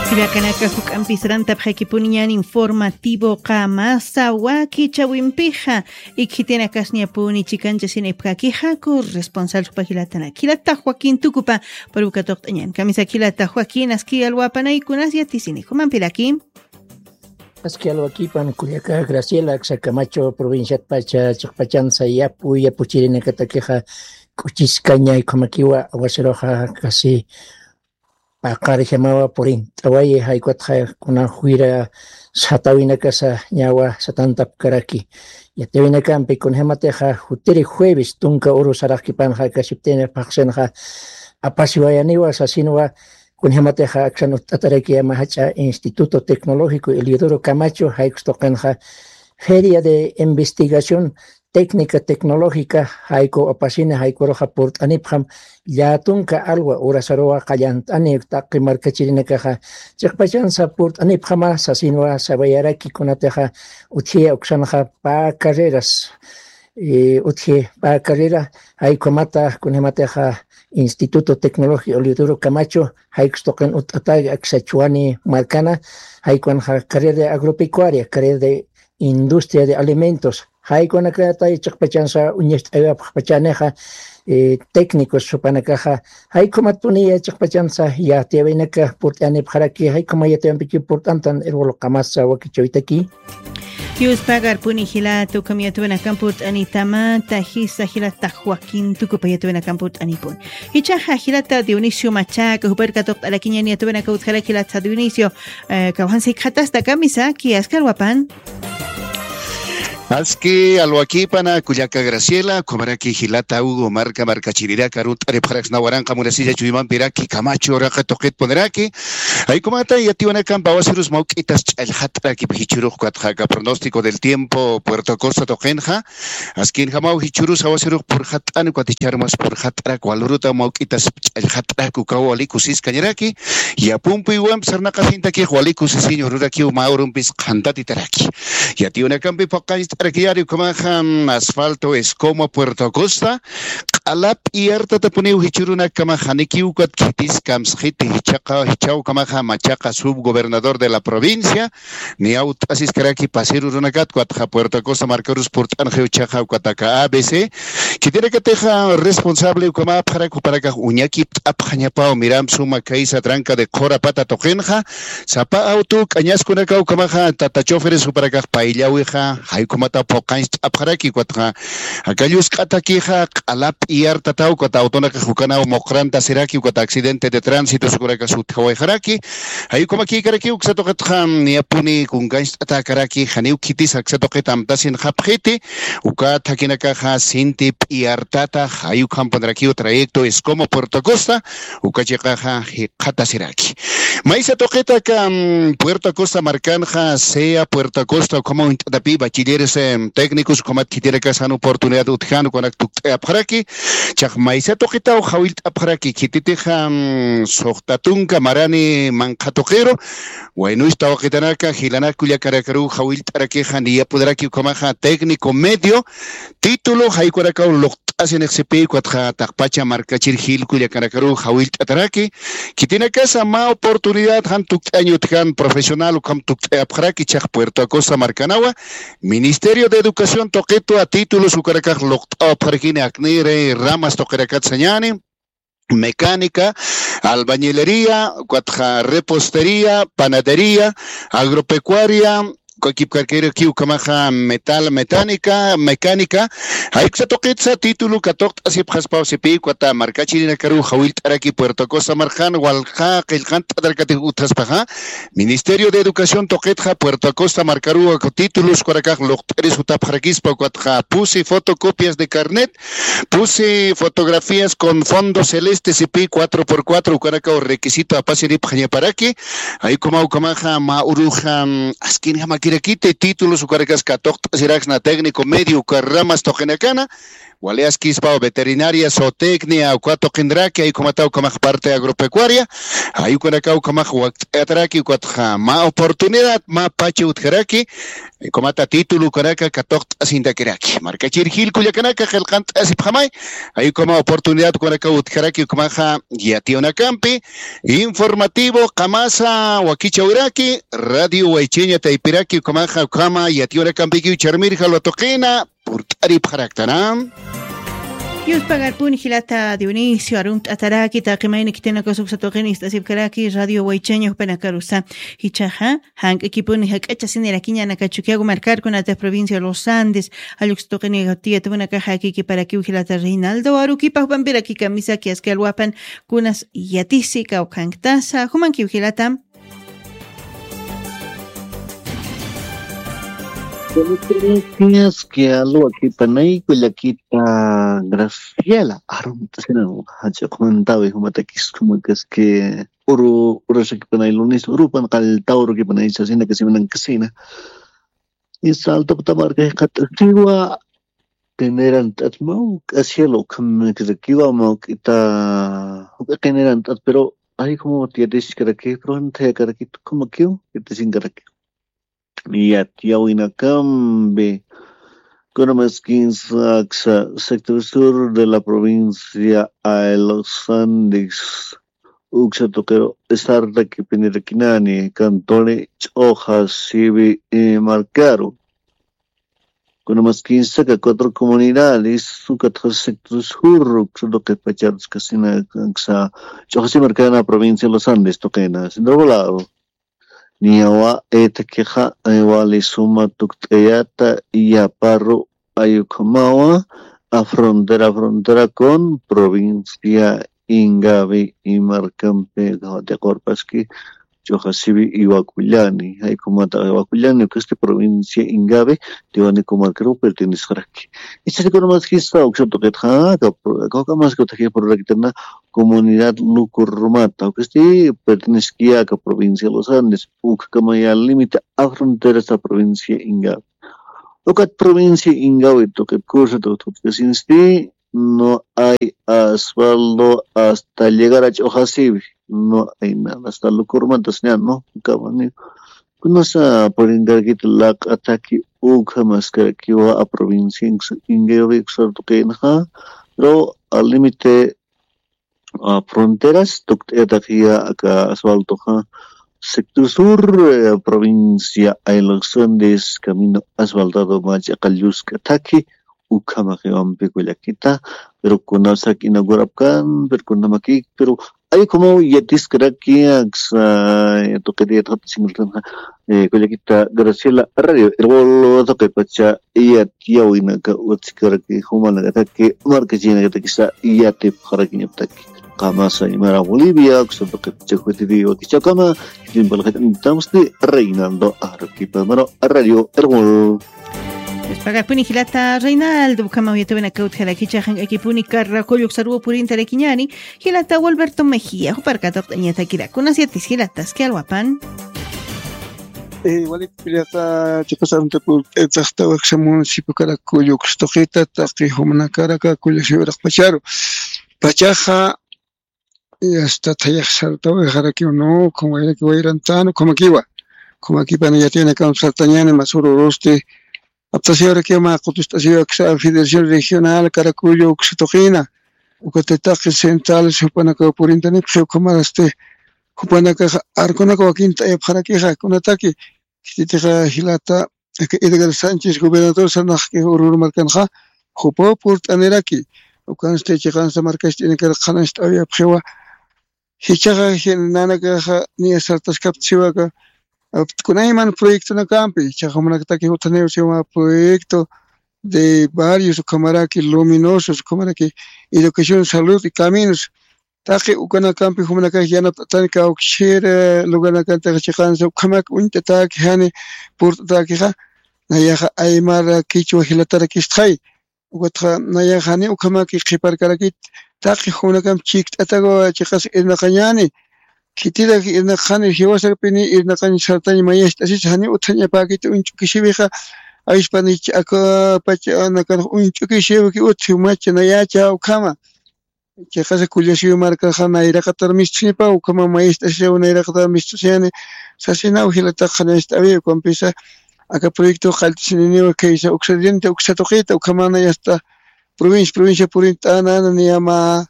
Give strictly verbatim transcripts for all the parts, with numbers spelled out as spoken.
Jilakanaka, juk'ampi sarantapxakipuniñan informativoqa masa wakichäwimpixa, ikhitinakas ñapuni chikanchasinipxakixa corresponsalxpa jilatanak. Jilata Joaquín Tucupa, purukatuqt'añan. Kamisa jilata Joaquín, aski alwapanaykunas yatisinix, jumampiraki. Aski alwakipan kullaka Graciela, aksa Camacho provinciatpacha chiqpachansa yapu yapuchirinakatakixa k'uchiskaña, ukhamakiwa aguaceroxa casi paqarjamawa purint'awayi, jaykutxa kuna juyra satäwinakasa ñawa satantapkaraki. Yatiwinakampi kunjamatixa jutiri jueves tunka uru saraqkipanxa akasiptini phaxsinxa apasiwayaniwa sasinwa, kunjamatixa aksan utt'ataraki ama jach'a Instituto Tecnológico Eliodoro Camacho, jaykus tuqinxa Feria de Investigación Técnica Tecnológica, jayku apasini, jaykuruxa purt'anipxam, llätunka alwa urasaruwa qallant'ani taqi markachirinakaxa. Chiqpachansa purt'anipxama sasinwa sabayaraki, kunatixa utjiya uksanxa pä carreras, eh, utji pä carrera, jaykumata kunjamatixa Instituto Tecnológico Eliodoro Camacho, jaykus tuqin utt'ataki aksa Chuani markana, jaykunxa carrera de agropecuaria, carrera de industria de alimentos, jaykunakatay chiqpachansa uñacht'awapxpachanixa, eh, técnicos jupanakaxa, jaykumatpuniya chiqpachansa yatiyawinaka purt'anipxaraki, jaykuma yatiyawampikiw purt'antan irwal qamasa wakichawitaki. Yuspagarpuni jilata, ukham yatiyawinakamp purt'anitamata, jisa jilata Joaquín Tucupa yatiyawinakamp purt'anipuni. Jichhaxa jilata Dionisio Machaca, jupar katuqt'arakiñan yatiyawinaka utjaraki jilata Dionisio, eh, kawkhansa jikxatasta, kamisa, aski alwapan. Aski alwakipana kullaka Graciela, ukhamaraki jilata Hugo, marka markachirinaka arunt'aripxaraksna waranqa munasilla chuymampiraki Camacho uraq tuqitpuniraki. Jaykumata yatiyawinakamp awasirus mawk'itas ch'allxat'arakip jichhürux, ukatxa aka pronóstico del tiempo Puerto Acosta tuqinxa, askinjamaw jichhürus awasirux purxat'ani, ukat jichhürumas purxat'arak, wal uruta mawk'itas ch'allxat'arak, ukaw wali kusiskañaraki. Yapumpi uwamp sarnaqasintakix wali kusisiñ ururakiw, mä urumpis qhantatitaraki. Yatiyawinakampi phuqañcht'arakiyari ukhamaxa, mm, asfalto Escoma Puerto Acosta, q'ala p'iyartatapuniw jichhürunakkamaxa, janikiw ukat khitis kamsxiti, jichhaqa, jichhaw ukhamaxa Machaca, subgobernador de la provincia, niya utt'asiskaraki pasir urunakat, ukatxa Puerto Acosta markarus purt'anxiw jichhaxa, ukat aka A B C. Khitinakatixa responsable ukhamäpxarak, jupanakax uñakipt'apxañapaw, miramp suma kaysa tranca de Qhurapata tuqinxa, sapa auto k'añaskunakaw ukhamaxa tata choferes jupanakax payllawixa, jaykumata phuqañcht'apxaraki, ukatxa aka llusk'atakixa q'ala p'iyartataw, ukat autonakax ukanaw muqrantasiraki, ukat accidente de tránsito ukanakax utjawayxaraki. Jaykumakïkaraki, uksa tuqitxa niyapuni kunkañcht'atäkaraki, janiw khitis aksa tuqit amtasinxapxiti, ukat jakinakaxa sinti p'iyartata, jay ukhampunirakiw trayecto Escoma Puerto Acosta, uka chiqaxa jikxatasiraki. Maysa tuqit aka, mm, Puerto Acosta markanxa, sea Puerto Acosta, ukhama uñt'atapï bachilleres, em, técnicos, ukhamat khitinakax jan oportunidad utjan, ukanak tukt'ayapxaraki, chax maysa tuqitaw jawillt'apxaraki, khititixa, mm, suxta tunka marani manqha tuqiru, waynus tawqitanaka, jilanak kullakanakaruw jawillt'arakixa, niyapuniraki ukhamaxa técnico medio, título, jaykunakaw luqt'asinix sipï, ukatxa taqpacha markachir jil kullakanakaruw jawillt'ataraki, khitinakasa mä oportunidad jan tukt'añ utjan profesional ukham tukt'ayapxaraki, chax Puerto Acosta markanawa, Ministerio de Educación tuqitwa títulos ukanakax luqt'awapxarakini, aknïri ramas tuqirakat sañäni, mecánica, albañilería, ukatxa repostería, panadería, agropecuaria, ukakipkarkirakiw ukhamaxa metal, mecánica, mecánica, jayksa tuqitsa título katuqt'asipxaspaw sipï, ukata markachirinakaruw jawillt'araki Puerto Acosta markan, walja qillqant'atarakatix utjaspaxa, Ministerio de Educación tuqitxa Puerto Acosta markaruw aka títulos ukanakax luqt'iri sutapxarakispa, ukatxa pusi fotocopias de carnet, pusi fotografías con fondo celeste sipï cuatro por cuatro, ukanakaw requisito apasiripxañaparaki. Jaykumaw ukhamaxa mä uruxa, mm, askinjamakirakiti títulos ukanakas katuqt'asiraksna técnico medio uka ramas tuqinakana, Walias Quispa, veterinaria, zootecnia, uka tuqinraki, jay ukhamata ukhamax parte agropecuaria, jay ukanaka ukhamax wakt'ayataraki, ukatxa mä oportunidad, mä pacha utjaraki, jay ukhamata título ukanaka katuqt'asintakiraki. Markachir jil kullakanaka, qillqant'asipxamay, jay ukhama oportunidad ukanaka utjaraki, ukhamaxa yatiyunakampi, informativo, qamasa, wakichäwiraki, Radio Waychaña taypiraki, ukhamaxa, ukhama yatiyunakampikiw charmir jalwa tuqina, purt'aripxaraktanam. Yuspagarpuni jilata Dionisio, arumt'ataraki taqi mayni khitinakax uksa tuqin ist'asipkaraki Radio Waychaña jupanakarusa. Jichhaxa, jank'akipuni jak'achasinirakiñäni aka Chukiyawu markar, kunatix provincia Los Andes, jall uksa tuqini tiyatipunakaxa, akikiparakiw jilata Reinaldo Aruquipa, jupampiraki kamisaki aski alwapan, kunas yatisi kawkhanktasa, jumankiw jilata. Buenas tardes, que alwakipanay kullakita Graciela, arumt'asina, jach'uqmantawi jumatakis, jumakaski uru, urashakipanay lunes, urupan qallta urukipanay sasina, kasimanakasina. Y salto putamarka jikata siwa, qinirant'at, mawk'a cielo ukhamakirakiwa, mawk'ita, juk'a qinirant'at, pero ay, como yatichkaraki, pero janthayakarakit, como kiw yatichinkarakiw. Yatiyäwinakampi, kunamaskis aksa sector sur de la provincia de Los Andes, uksa tuqiru esartakipinirakinani, Cantole, Ch'uxa, Siwi, y Markaru. Kunamaskis aka cuatro comunidades, ukatxa sector sur, uksa tuqi pacharus kasina, aksa Ch'uxa, Siwi, Markaru, provincia de Los Andes tuqina, centro poblado. Niyawa, eh, takixa, eh, wali suma tukt'ayata, yaparu, ay ukhamawa, a frontera, frontera con provincia Ingavi, y markampi, jawatiqurpaski, Ch'uxa, Siwi, Iwakullani, jay ukhamata Iwakullani, ukasti provincia Ingavi, Tiwanaku markaru perteneceraki. Ichhasi kunamaskisa, uksa tuqitxa, aka, aka, ukamaski utjaki pururakitarna, comunidad Lukurmata, ukasti pertenecekiyaka provincia Los Andes, ukhakamaya límite a fronterasa provincia Ingavi. Ukat provincia Ingavi tuqit kursa tuqt'asinsti, no hay asfalto hasta llegar a Ch'uxa, Siwi, no hay nada, hasta Lukurmata, señal, ¿no? Ukamani. Kunasa purinkarakit laq'ataki, ukhamaskarakiwa a provincia Ingavi uksa tuqinxa, pero al límite a fronteras, tukt'ayatakiya aka asfaltoxa, sector sur, eh, provincia Los Andes, camino asfaltado mä ch'iqa llusk'ataki, ukhamaxiwampi kullakita, pero kunasaki inaugurapkan, pero kunamakik, pero ay ukhamaw yatiskaraki, aksa, eh, tuqita yatxatasinxa, eh, kullakita Graciela, Radio Erbol tuqipacha yatiyäwinaka utjkaraki, jumanakataki, markachinakatakisa yatipxarakiñaptaki. Qamasa aymara Bolivia, uksa tuqipacha jutiri wakichäwkama, khitin palaxatamsti Reinaldo Aruquipa, maro Radio Erbol. Yuspagarpuni jilata Reinaldo, ukhama yatiyäwinaka utjarakicha, jank'akipuni Carracoyo uksaruw purintarakiñäni, jilata Gualberto Mejía, juparka tuqt'añatakirak. Kunas yatis jilata, aski alwapan. Eh, wali jilata, chiqas arunta purt'aytaxta, waksa municipio Carracoyo uksa tuqita, taqi jumanakaraka kullasiw uraqpacharu. Pachaxa, y hasta thayax sartawayxarakiw, no, ukham wayraki wayrantan, ukhamakiwa. Ukhamakipana yatiyanakamp sartañäni, mas ururusti, aptasiwarakiw mä qutust'asiw aksa Federación Regional Carracoyo uksa tuqina, ukat taqi centrales jupanakaw purintanipxi, ukhamarasti jupanakax arkunaka wakin t'ayapxarakixa, kunataki, khititixa jilata, aka Edgar Sánchez gobernador sarnaqki ururu markanxa, jupaw purt'aniraki, ukansti chiqansa markacht'inakar qhanañcht'awayapxiwa, jichhaxa nanakaxa niya sartaskaptasiwaka, kunayman proyectonakampi, jichhaxa jumanakataki utjaniw siwa proyecto de barrios, ukhamaraki luminosos, ukhamaraki educación, salud y caminos. Taqi ukanakampi jumanakax yanapt'atani kawkchir, eh, lugarnakantaxa chiqansa ukhamak uñt'atäki, jani purt'atäkixa, nayaxa aymara kichwa jilatarakistxay. Ukatxa nayaxa jani ukhamaki qhiparkarakit, taqi jumanakamp chikt'atawa chiqas irnaqañäni, khitirak irnaqxani jiwasarpini irnaqañ sartañ mayacht'asis, jani utjañapäkit uñch'ukisiwixa, awispanich aka pacha nakan uñch'ukisiwki utji macha nayacha ukhama. Chiqasa kullasiw markaxa nayraqatar mistxinipa, ukhama maest'asiw nayraqatar mist'asiyani, sasinaw jilatax qhanañcht'awi, ukampisa aka proyecto qallt'asininiwa khaysa uksa diente, uksa tuqita, ukhamana yasta provincia, provincia purint'anana niyama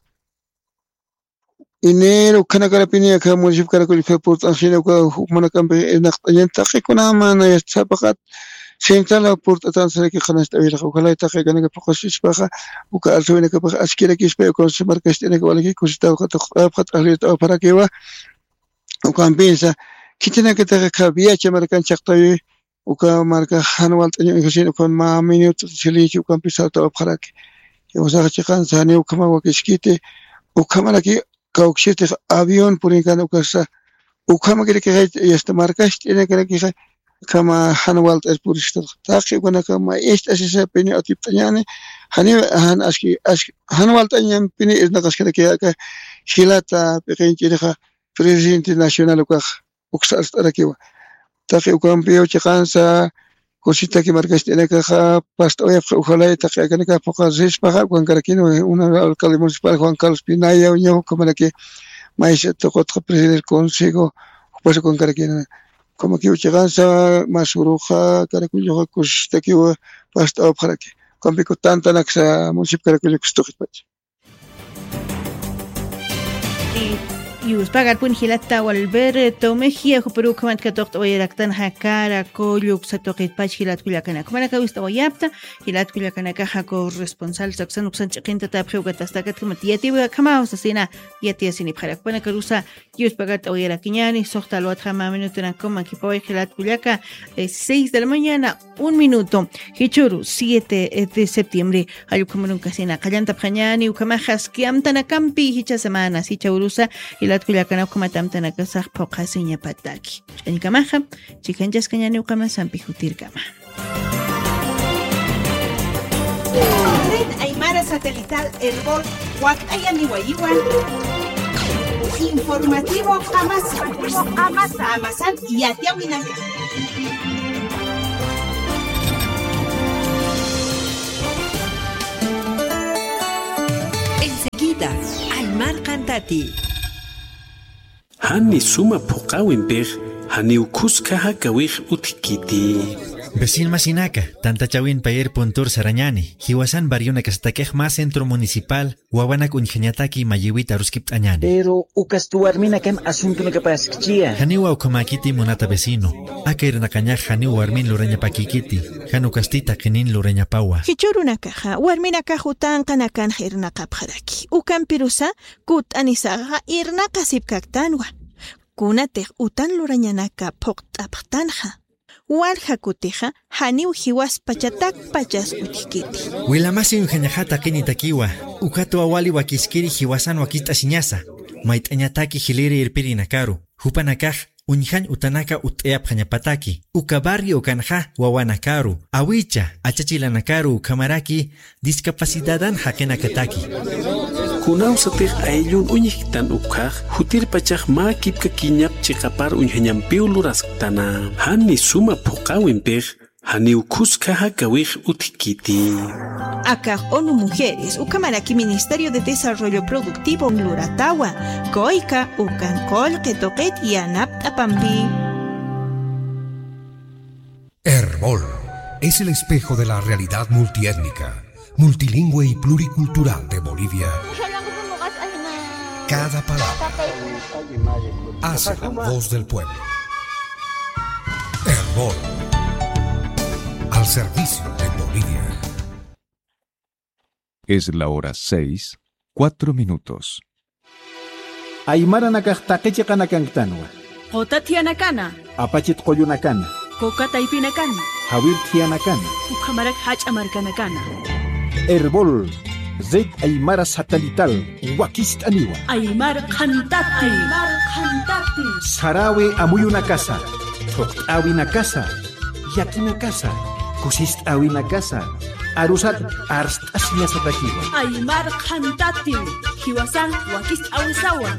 enero, ukhanakarapini aka municipio Caracollo purt'ansina, uka jukmanakampi irnaqt'añan taqikunamana yasta sapaqat, central purt'atansaraki qhanañcht'awiraxa, ukalay taqikanaka phuqasispaxa, uka alsawinakapax askirakispa, uka markacht'inaka walaki kusitaw qatuqt'apxa, t'aqlirt'apxarakiwa, ukampinsa, khitinakataxa kha viacha markan chaqtawi, uka marka jan walt'aña uñjasin, ukan mä minuto silencio ukampi saltawapxaraki. Jiwasaxa chiqansa janiw ukhama wakiskiti, ukhamaraki kawkisitix avión purinkan ukasa, ukhamakiraki yasta markacht'inakarakixa, ukhama jan walt'ir puristaxa. Taqi ukanaka mä ist'asisapini atipt'añani, janiw jan aski, aski, jan walt'añampini irnaqaskaraki aka jilata p'iqinch'irixa presidente nacional ukaxa. Uksa arst'arakiwa. Taqi ukampiw chiqansa kusitaki markacht'inakaxa past'awayapxi, ujalay taqi akanakax phuqasispaxa ukankarakini, una alcalde municipal Juan Carlos Pinaya, uña ukhamaraki maysa tuqutxa presidente consejo, jupas ukankarakini. Ukhamakiw chiqansa Masuruxa, Caracolloxa kusitakiw past'awapxaraki. Ukampiku tantanaksa municipio Caracollo kustuqitpacha. Yuspagarpun jilata Walberto Mejía, juparu ukhamat katuqt'awayaraktanxa Caracollo uksa tuqitpach jilat kullakanaka. Jumanaka wist'awayapta, jilat kullakanakaxa corresponsal saksan uksan ch'iqintatapxi uka tastakatkamat yatiwi akhamaw sasina yatiyasinipxarak. Jumanakarusa yuspagart'awayarakiñani, suxta alwatxa mä minutunak kuman kipaway jilat kullaka, eh, seis de la mañana, un minuto. Jichhüru siete de septiembre. Jall ukhamarun kasina qallantapxañani, ukhamaxa aski amtanakampi jichha semanas, jichha urusa, jilat kullakana ukhamat amtanakasax phuqhasiñapataki. Ch'añkamaxa, chikhanchaskañani ukhama sampi jutirkama. Red Aymara Satelital Erbol, wakt'ayaniwayiwan. Informativo Qamasa. Qamasa. Qamasan yatiyawinaka. Enseguida, Aymar Qantati. Jani suma phuqäwimpix, janiw khuska jakawix utjkiti. Vecin masinaka, tantachäwin payer puntur sarañäni, jiwasan barrionakasatakix mä centro municipal, wawanak uñjañataki mayïwit aruskipt'añäni. Pero ukasti warminakan asuntunakapaskchia. Janiwa ukhamäkiti munata vecino. Aka irnaqañax janiw warmin lurañapäkïkiti. Jan ukasti taqinin lurañapawa. Jichhürunakaxa warminakax utanqanakanxa irnaqapxaraki. Ukampirusa kutt'anisaxa irnaqasipkaktanwa. Kunatix utan lurañanaka phuqt'apxtanxa. Walja kutixa, janiw jiwaspachatakpachas utjkiti. Wilamasi uñjañaxa taqinitakiwa, ukatwa wali wakiskiri jiwasan wakist'asiñasa, mayt'añataki jiliri irpirinakaru, jupanakax uñjañ utanaka utt'ayapxañapataki, uka barrio ukanxa wawanakaru, awicha, achachilanakaru ukhamaraki, discapacidadan jaqinakataki. Kunawsatix ayllun uñjktan ukhax, jutirpachax mä kipkakiñap chiqapar uñjañampiw lurasktana. Jani suma phuqäwimpix, janiw khuska jakawix utjkiti. Akax ONU Mujeres, ukhamaraki Ministerio de Desarrollo Productivo luratawa, kuyka ukan qullqi tuqit yanapt'apampi. Erbol es el espejo de la realidad multiétnica, multilingüe y pluricultural de Bolivia. Cada palabra hace la voz del pueblo. Erbol, al servicio de Bolivia. Es la hora seis, cuatro minutos. Aymaranakax taqi chiqanakanktanwa. Quta thiyanakana. Apachit qullunakana. Kuka taypinakana. Jawir thiyanakana. Ukhamarak jach'a markanakana. Erbol, Red Aymara Satelital, wakist'aniwa. Aymar qhantati. Aymar qhantati. Sarawi amuyunakasa, thuqt'äwinakasa, llakinakasa, kusist'äwinakasa, arusat arst'asiñasatakiwa. Aymar qhantati, jiwasan wakist'äwisawa.